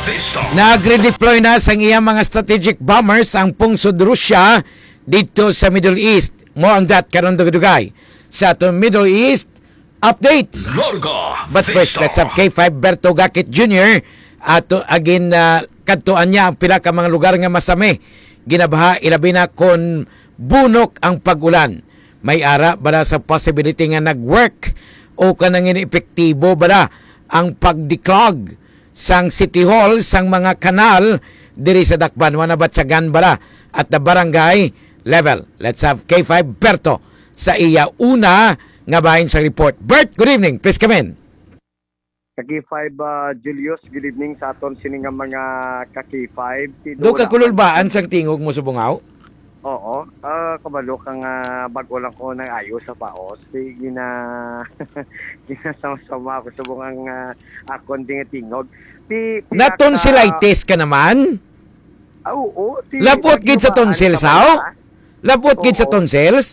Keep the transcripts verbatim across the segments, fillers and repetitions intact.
Nag-redeploy na sang iyang mga strategic bombers ang pungsod Russia didto sa Middle East. More on that karon, dugay-dugay sa aton Middle East updates. Larga But first, Vista. Let's have K five Berto Gakit Junior. Ato agin, ah, kadtuan niya ang pila ka mga lugar nga masami ginabaha, ilabi na kon bunok ang pag-ulan. May ara bala sa possibility nga nag-work o kanang epektibo bala ang pag-declog sang City Hall, sang mga kanal diri sa Dakbayan, nabatyagan bala at the barangay level. Let's have K five Berto sa iya una nga bahin sa report. Bert, good evening. Please come in. Ka K five, ah, Julius, good evening sa aton sini nga mga ka K five. Tinuod Do ka lang kululbaan sang tingog mo, Subongaw? Oo. Ah, kabalo ka nga bag-o lang ko nang ayo sa paos. Di gina-, ginasama-sama ako subong ang, ah, akon ding tingog. Ti-, pila Naton ka si Laites ka naman? Ah, oo. Ti-, Labot gid sa naglumaan tonsils, ka ba haw? na? Labot gid sa Oo. tonsils?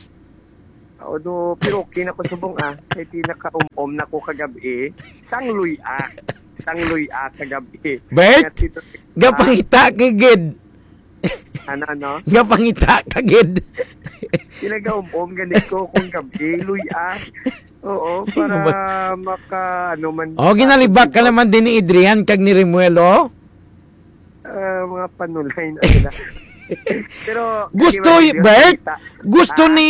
Oo, do, pero okay na ko subong, ah. Kay pinaka-um-um na ko kagabi. Sang luya. Sang luya kagabi. Bert? Nga si Tonsils, ah. Gapangita ka gid. Ano, ano? Gapangita ka gid. Pinagaum-um gani ko kung gabi. Luya. Oo, Ay, para naman. maka, ano man, Oh, ginalibak ka naman din ni Adrian kag ni Remuelo. Ah, mga panulay na sila. Pero, Gusto, di ba, y-, Bert? Kita. Gusto Ah? ni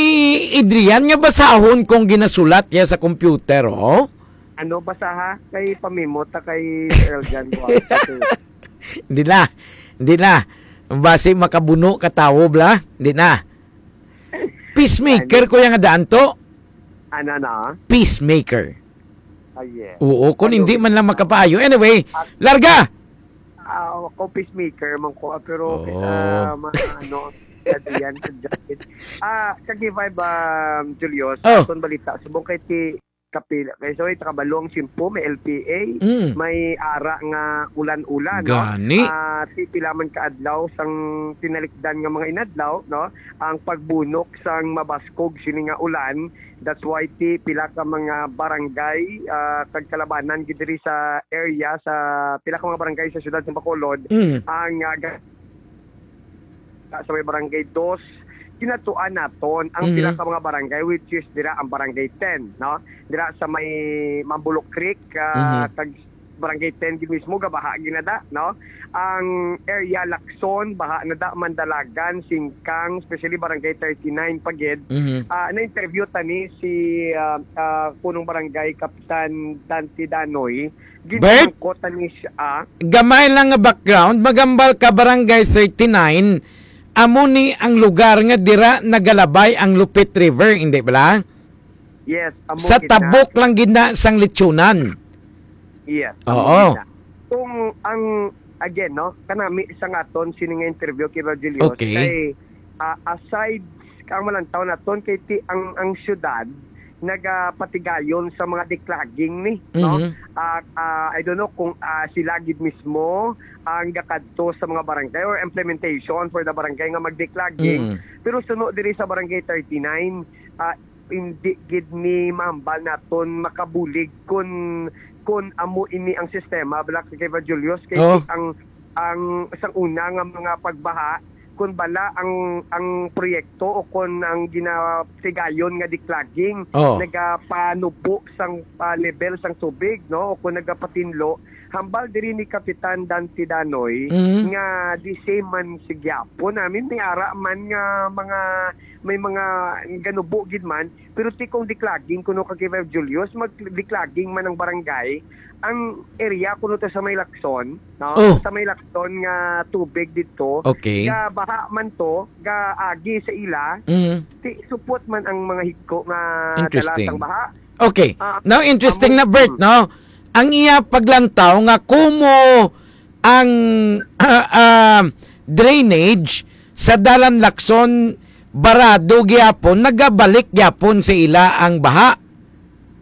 Adrian nga basahon kung ginasulat niya sa computer, oh? Ano, basaha? Kay pamimot ta kay Eljan Duarte. Hindi na. Hindi na. Basi makabuno ka tawo, bla? Hindi na. Peacemaker Ano? ko yung daan to. Ano na? Peacemaker. Ah, yes. Oo, kung Ano? hindi man lang makapaayo. Anyway, Ah. larga! Ah, ako peacemaker man ko, ah, pero, Oo. ah, mga ano, yan, yan, yan. Ah, kag five, um, Julius, Oh. atong balita, subong kay ti kapila. Kay, so, ita kabalo ang Simpo, may L P A, Mm. may ara nga ulan-ulan, no? Gani. Ah, ti pila man ka adlaw sang tinalikdan nga mga inadlaw, no? Ang pagbunok sang mabaskog sini nga ulan, that's why ti pila ka mga barangay, ah, kag kalabanan gid diri sa area sa pila ka mga barangay sa siyudad sa Bacolod Mm. ang, ah, ga-, sa may barangay dos, kinatuan naton ang Mhm. pila ka mga barangay, which is dira ang barangay ten, no? Dira sa may Mambulok Creek, ah, Mhm. kag barangay ten gid mismo, gabaha ginada, no? Ang area Lacson, baha na da, Mandalagan, Singkang, especially barangay thirty-nine pa gid. Mhm. Ah, na-interview tani si, ah, ah, punong barangay Kapitan Dante Danoy. Bert? Ginamangkot tani siya, ah. Gamay lang nga background, magambal ka barangay thirty-nine, amo ni ang lugar nga dira nagalabay ang Lupit River, hindi bala? Yes, amo Sa gid na. tabok lang gid na sang Lechonan. Yes, amo Oo. gid na. Kung ang, again, no, kanami sa nga aton sini nga interview kay Virgilio, Okay. kay, ah, aside, ang malantaw naton kay ti-, ang, ang syudad nagapatigayon sa mga declogging ni, no? Mhm. Ah, ah, I don't know kung, ah, sila gid mismo ang gakadto sa mga barangay or implementation for the barangay nga mag-declogging. Mm. Pero suno diri sa Barangay thirty-nine, ah, hindi gid ni mahambal naton makabulig kun, kun amo ini ang sistema, bala kay Julius, kay Oh. ang, ang sang una nga mga pagbaha, kun bala ang, ang proyekto o kun ang ginatigayon nga declogging Oh. nagapanubo sang, ah, level sang tubig, no? O kun nagapatinlo, hambal diri ni Kapitan Dante Danoy Mhm. nga the same man si gyapon. I mean, may ara man nga mga, may mga ganubo gid man, pero ti kung declogging kuno ka kay Five Julius, mag-declogging man ang barangay, ang area kuno to sa may Lacson, no? Oh. Sa may Lacson nga tubig didto, Okay. ga baha man to, ga agi sa ila, Mhm. ti supot man ang mga higko nga dala Interesting. sang baha. Okay. Ah, Now, interesting amo, na, Bert, mm. no? Ang iya paglantaw nga kumo ang, ah, ah, drainage sa Dalan Lacson barado gyapon, nagabalik gyapon sa ila ang baha.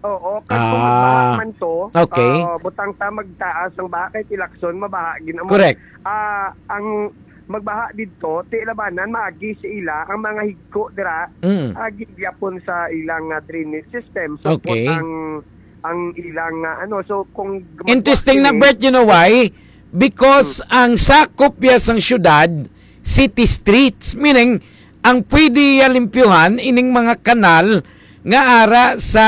Oo, kay kung Ah, magbaha man to, okay. ah, butang ta magtaas ang baha kay ti Lacson, mabaha gid amo. Correct. Ah, ang magbaha didto, ti labanan, maagi sa ila ang mga higko dira, Mm. agi gyapon sa ilang, ah, drainage system. So, Okay. ang, ang ilang, ah, ano, so, kung Interesting na, magbaha Bert, you know why? Because ang sakop ya sang syudad, city streets, meaning ang pwede ya limpyuhan ining mga kanal nga ara sa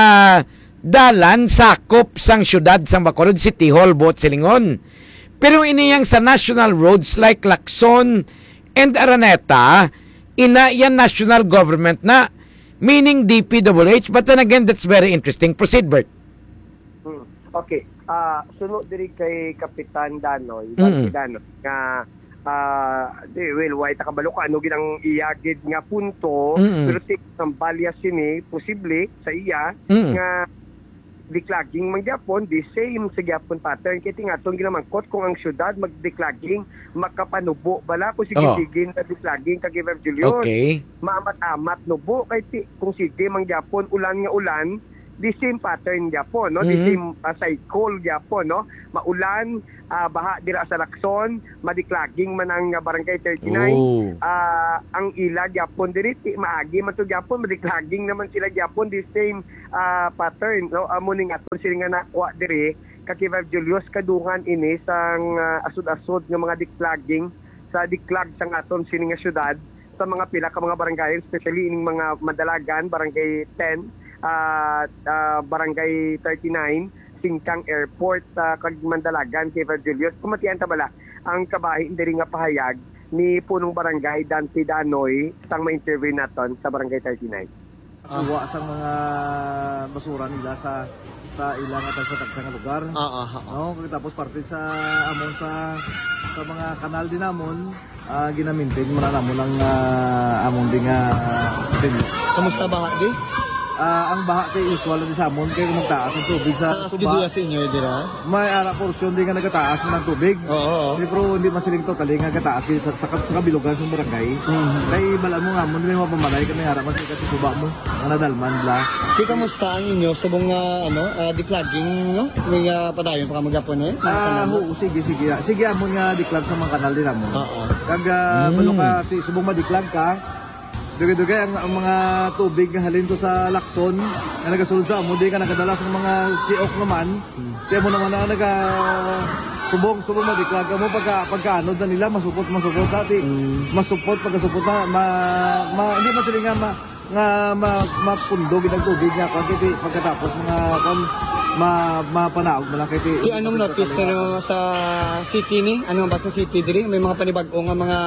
dalan sakop sang syudad sang Bacolod, City Hall, buot silingon. Pero ini yang sa national roads like Lacson and Araneta, ina yan national government na, meaning D P W H. But then again, that's very interesting. Proceed, Bert. Hmm. Okay. Ah, suno diri kay Kapitan Danoy, Mm. Danoy, nga ah, di, well, way ta kabalo kung ano gid ang iya gid nga punto, Mm. pero ti ang balya sini posible sa iya Mm. nga declogging man gyapon, the same sa gyapon pattern. Kay tingaton ginamangkot kung ang syudad mag-declogging, makapanubo bala kung Oh. sige-sige na declogging ka, Giver Julius. Okay. Maamat-amat nubo kay ti, kung sige man gyapon, ulan nga ulan, the same pattern gyapon, no? The Mhm. same ah, cycle gyapon, no? Maulan, ah, baha dira sa Lacson, madiklaging man ang ah, Barangay thirty-nine. Oh. Ah, ang ila gyapon diri, ti, maagi man to gyapon, madiklaging naman sila gyapon, the same ah, pattern, no? Amo ning aton sini nga nakuha diri, ka Kivar Julius, kadungan ini sang ah, asod-asod nga mga diklaging sa diklag sang aton sini nga syudad, sa mga pila ka mga barangay, especially ining mga Madalagan, Barangay ten, ah, ah, Barangay thirty-nine, Singkang Airport, ah, kag Mandalagan, Kivar Julius. Pamatian ta bala ang kabahin diri nga pahayag ni Punong Barangay Dante Danoy sang ma-interview naton sa Barangay thirty-nine. Kuha sang mga basura nila sa sa ila nga tagsa-tagsa nga lugar. Ah, ah, ah, ah. No, kag tapos parte sa amon sa sa mga kanal din namon, ah, ginamintain man namon ang ah, amon din nga din. Kamusta baha, di? Ah, ang baha kay usual na di sa amon kay magtaas ang tubig sa Taas suba. Gid ya sa inyo, dira? May ara porsyon din nga nagataas man ang tubig. Oo, oo. Di, pero hindi man siling totally nga gataas sa, sa, sa kabilugan sa barangay. Mhm. Kay bala mo nga mo may mapamalay kami ara man sa suba mo. Ang nadalman bla. Di, kamusta ang inyo subong nga, ano, ah, declogging, no? May ah, padayon pa ka maghapon, eh? Mga Ah, kanal? Oo, sige, sige. Ah, sige, amon nga diklag sa mga kanal din amon. Oo. Kag ah, Mm. balo ka, ti, subong madiklag ka, dugay-dugay ang, ang mga tubig nga halin to sa Lacson, nga nagasulod sa amo, di ka nakadala sa mga siok naman. Kaya mo naman na naga subong, subong madiklag ka mo pagka, pagkaanod na nila, masupot, masupot, ati. Mm. Masupot, pagkasupot na, ma, ma, hindi man sila nga ma, nga ma, mapundo gid ang tubig nga kung iti pagkatapos mga kung ma, mapanaog mo lang kay ti. Di, anong notice, ano, sa city ni? Ano ba sa city diri? May mga panibag-o nga mga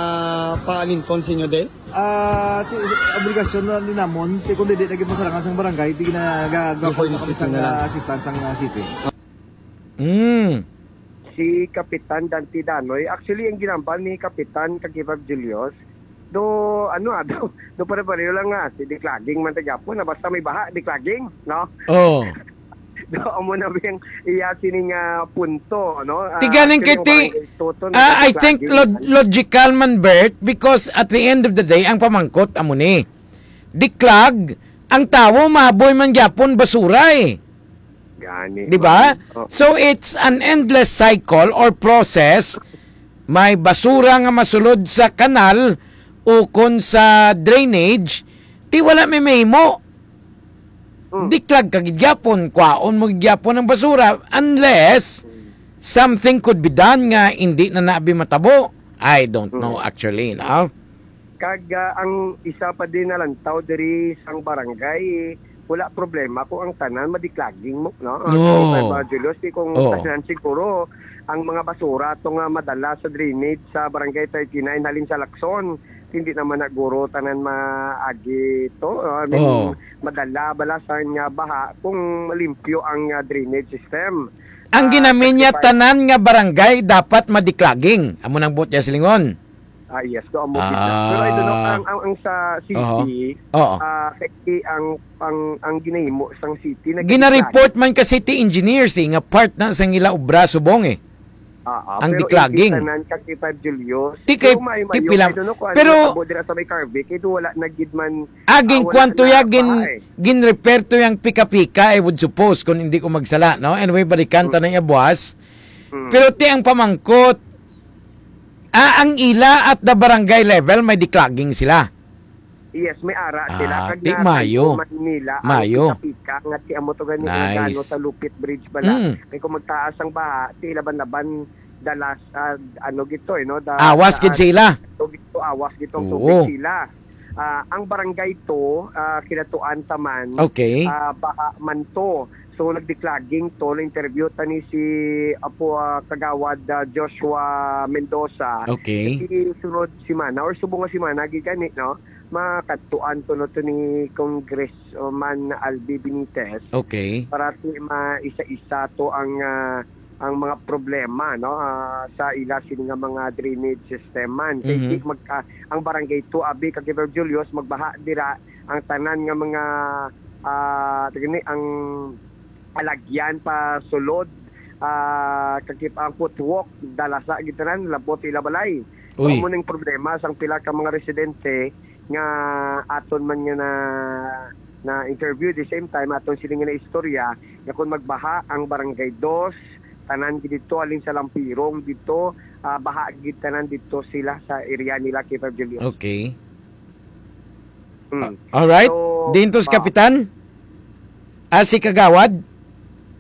paalinton sa inyo, di? Ah, ti, obligasyon na ni namon, ti kung di lagi masarangan sang barangay, di na gagawa Before the kami city sang na lang. ah, assistance sang ah, city. Mm. Si Kapitan Dante Danoy, actually, ang ginambal ni Kapitan Kagibab Julius, do, ano ah, do, do pare-pareho lang nga, si declogging man ta gyapon, na basta may baha, declogging, no? Oh. Do, amo na ba yung iya sining ah, punto, no? Ah, Ti ganing actually, kay ti, ang barangay Toto, ah, I think declogging, log- ano? Logical man, Bert, because at the end of the day, ang pamangkot amo ni. Diklag, ang tawo maboy man gyapon basura eh. Gani. Di ba? Oh. So it's an endless cycle or process. May basura nga masulod sa kanal o kon sa drainage, ti wala may mahimo. Mm. Diklag ka gid gyapon, kwaon mo gid gyapon ang basura unless something could be done nga hindi na nabi matabo. I don't know actually, no? Kag ah, ang isa pa din nalantaw diri sang barangay, wala problema kung ang tanan madiklaging mo, no? Ang No. San Julius, di kung Oo. tanan siguro ang mga basura to nga madala sa drainage sa barangay thirty-nine halin sa Lacson, hindi naman na guro tanan maagi to. I mean, Oo. madala bala sa nga baha kung limpyo ang ah, drainage system. Ang Ah, ginamin niya thirty-five. Tanan nga barangay dapat madiklaging. Amo nang buot niya silingon. Ah, yes, do amo gid na. Pero I don't know, Ah. ang, ang, ang sa city, Oo. ah, kay ang, ang, ang ginahimo sang city na Gina-report man ka city engineers eh, nga part na sang ila obra subong eh. Ah, ah, ang pero declogging. Tanan ka kay Five Julius. Ti kay- Pero may ti mayo, pila- I don't know kung pero- ano tabo dira sa may Carvic, ito wala na gid man. Ah, Ah, ginkuan wala to na ya, gin, baha eh. gin-repair to yang pika-pika, I would suppose, kung hindi ko magsala, no? Anyway, balikan ta na iya buwas. Mm. Pero ti ang pamangkot, ah, ang ila at the barangay level, may declogging sila. Yes, may ara sila. Ah, Kag ti na mayo. Man nila, Mayo. Ang pika-pika nga ti amo to gani Nice. Gano sa Lupit Bridge bala. Mm. Kay kung magtaas ang baha, ti laban-laban the last, ah, ano gito, eh, no? The, Awas the, gid ah, sila. Ito gito, awas gito ang Oo. tubig sila. Ah, ang barangay to, ah, kinatuan ta man, Okay. ah, baha man to. So, nagdiklogging to, na-interview ta ni si Apo, ah, Kagawad, ah, Joshua Mendoza. Okay. Kasi sunod semana or subong nga semana, gid gani, no? Makadtuan to, no, to ni Congressman Albi Benitez. Okay. Para ti ma-isa-isa to ang, ah, ang mga problema, no, ah, sa ila sini nga mga drainage system man. Kay Mhm. di magka-, ang barangay two, abi, Kagawad Julius, magbaha dira ang tanan nga mga, ah, gani, ang alagyan pa sulod, ah, kakip-, ang footwalk, dalasa gid tanan, labot ila balay. So, Uy. amo ning problema sang pila ka mga residente nga aton man nga na, na-interview, the same time, aton sila nga na-istorya, nga kung magbaha ang Barangay Dos, tanan gid dito, alin sa Lampirong dito, ah, baha gid tanan dito sila sa area nila, Kagawad Julius. Okay. Mm. Ah, alright. So, Dintos, ah, Kapitan? Ah, si Kagawad?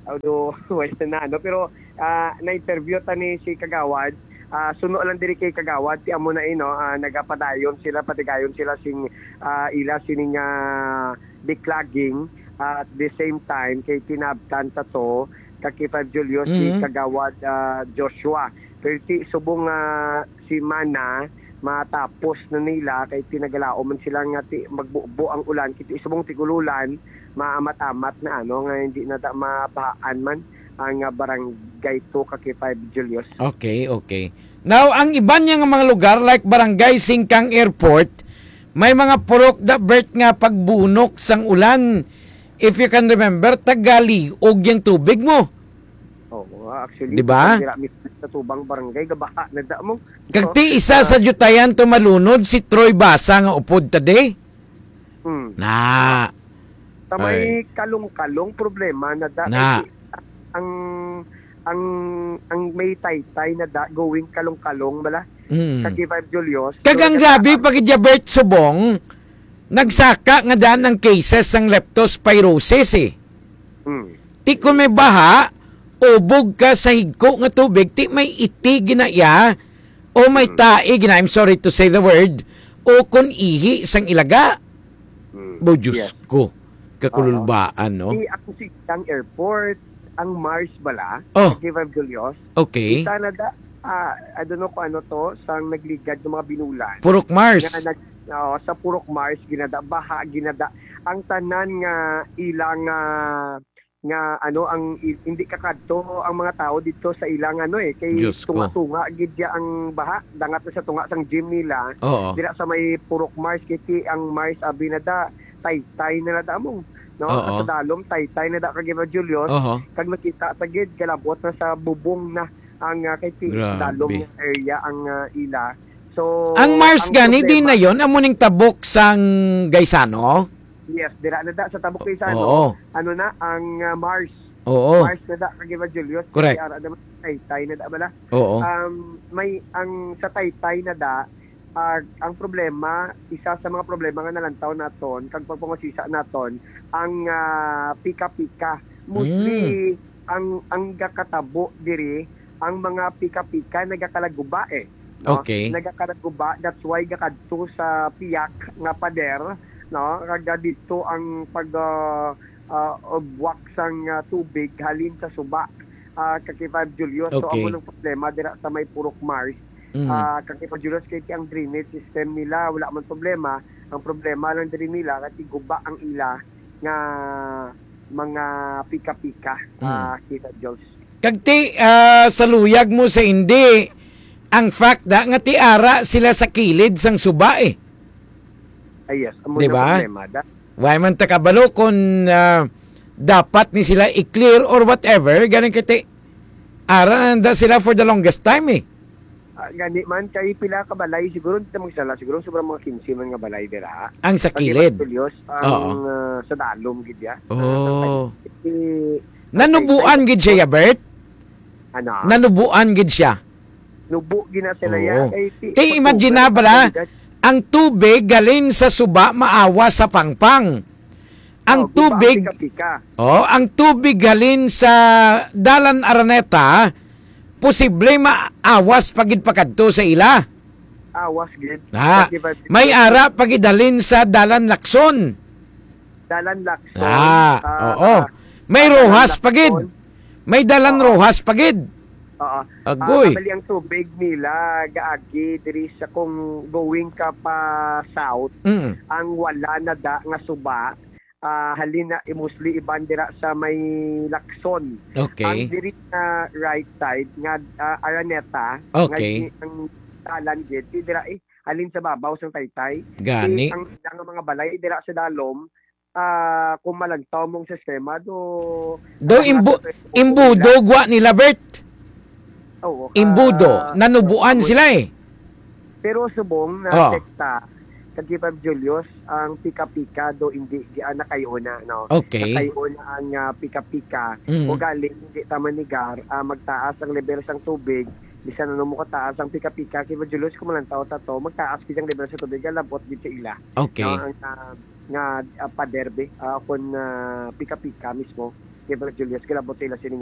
Although, wala na, ano, pero, ah, na-interview ta ni si Kagawad. Ah, suno lang diri kay Kagawad, ti amo na, eh, no, ah, nagapadayon sila, patigayon sila sing, ah, ila sining, ah, declogging. Ah, at the same time, kay tinabtan ta to, kay Five Julius, si Mhm. Kagawad, ah, Joshua. Pero ti subong nga semana, matapos na nila, kay tinagalaom man sila nga ti magbubo ang ulan, kay ti subong tigululan, maamat-amat na, ano, nga hindi na ta mabahaan man ang, ah, barangay two, kay Five Julius. Okay, okay. Now, ang iban niya nga mga lugar, like Barangay Singkang Airport, may mga purok da, Bert, nga pagbunok sang ulan. If you can remember, tagaliog yung tubig mo. Oo, actually, Di ba? Dira mismo sa tubang barangay, gabaha na da mo. Kag ti isa sa Jutayan to malunod, si Troy Basa nga upod ta di. Hmm. Na. Sa may Ay. Kalong-Kalong, problema na da. Na. Kay ang, ang, ang may taytay na da, going Kalong-Kalong bala. Mm. Sa K five Julius. Kag So, ang nagkataas. grabe, pag Bert Subong, nagsaka nga daan ang cases sang leptospirosis eh. Hmm. Ti kung may baha, ubog ka sa higko nga tubig, ti may iti ginaya, o may Mm. tae gina, I'm sorry to say the word, o kon ihi sang ilaga. Mm. Bo, Diyos Yes. ko, kakululbaan, Oo. no? Di, ang Singkang Airport, ang Mars bala, Oh. sa K five Julius. Okay. Kita na da, ah, I don't know kung ano to, sang nagligad ng mga binulan. Purok Mars. Nga nag-, oo, sa Purok Mars, ginada, baha, ginada. Ang tanan nga ilang, ah, nga, ano, ang i-, hindi kakadto ang mga tao dito sa ilang, ano, eh, kay Diyos ko. tunga-tunga gid ya ang baha, dangat na sa tunga sang gym nila. Oo. Dira sa may Purok Mars, kay ti ang Mars, abi na da, taytay na na da mo, no? Oo. Sa dalom, taytay na da kag Eva Julius. Oho. Kag nakita ta gid, kalabot na sa bubong na ang, ah, kay ti Grabe. dalom nga area ang, ah, ila. So, Ang Mars ang gani, di problema na yon, amo ning tabok sang Gaisano? Yes, dira na da sa tabok kay sa, ano, Oo. ano na, ang, ah, Mars. Oo. Mars na da, kag Eva Julius, Correct. kay ara naman, taytay na da bala. Oo. Um, may, ang sa taytay na da, ah, ang problema, isa sa mga problema nga nalantaw naton, kag pagpangusisa naton, ang, ah, pika-pika. Mostly, Mm. ang, ang gakatabo diri, ang mga pika-pika nagakalaguba, eh. No? Okay. Nagakalaguba, that's why gakadto sa piyak nga pader, no? Kag dito ang pag, ah, ah, buwak sang, ah, tubig halin sa suba, ah, kag K five Julius. So, Okay. amo nang problema dira sa may Purok Mars. Mm. Ah, kag K five Julius, kay ang drainage system nila, wala man problema. Ang problema lang diri nila, kay guba ang ila nga mga pika-pika, Mm. ah, K five Julius. Kag ti, ah, sa luyag mo sa hindi, ang fact da nga ti ara sila sa kilid sang suba, eh. Ah, yes, amo Di na ba? problema da. Why man ta kabalo kung, ah, dapat ni sila i-clear or whatever, ganing kay ti ara na da sila for the longest time, eh. Ah, gani man, kay pila ka balay, siguro, di ta magsala, siguro, sobrang mga quince man nga balay dira. Ang sa Pati kilid. Julius, ang, Oo. ah, sa dalom, gid ya. Oh. Eh, Nanubuan gid siya, Bert? Ano? Nanubuan gid siya. Nubo gid na sila, Oo. ya. Kay ti-, Kay pag imagine na sobra bala, ang tubig galing sa suba maawa sa pangpang. Ang Oh, guba, tubig, pika-pika. oh, ang tubig halin sa Dalan Araneta, posible maawas pa gid pakadto sa ila. Awas gid. Ah, Thirty-five may meters. Ara pa gid halin sa Dalan Lacson. Dalan Lacson. Ah, ah, oo. Ah, May Dalan Roxas pa gid. Lacson. May Dalan Oo. Roxas pa gid. Oo. Agoy. Ah, bali ang tubig nila gaagi diri sa kung going ka pa south, Mm. ang wala na da nga suba, ah, halin na mostly iban dira sa may Lacson. Okay. Ang diri na right side nga, ah, Araneta, Okay. nga ang dalan gid, di dira, eh, halin sa babaw sang Taytay. Gani. Di ang, ang mga balay dira sa dalom, ah, kung malantaw mong sistema, do, Do ang imbu-, nasa imbudo gwa nila, Bert? Oo, ka-, Imbudo, nanubuan subong. Sila eh. Pero subong na Oh. sekta, kag Kibab Julius, ang pika-pika do hindi gi-, ah, nakayuna, no? Okay. Nakayuna ang, ah, pika-pika. Mm. Ugaling hindi ta manigar, ah, magtaas ang level sang tubig, bisan ano mo kataas ang pika-pika, Kibab Julius, kung malantaw ta to, magtaas gid ang level sa tubig, alabot gid sa ila. Okay. No, ang, ah, nga, ah, pader, be, ah, kun, ah, pika-pika mismo, Kibab Julius, kalabot sa ila sining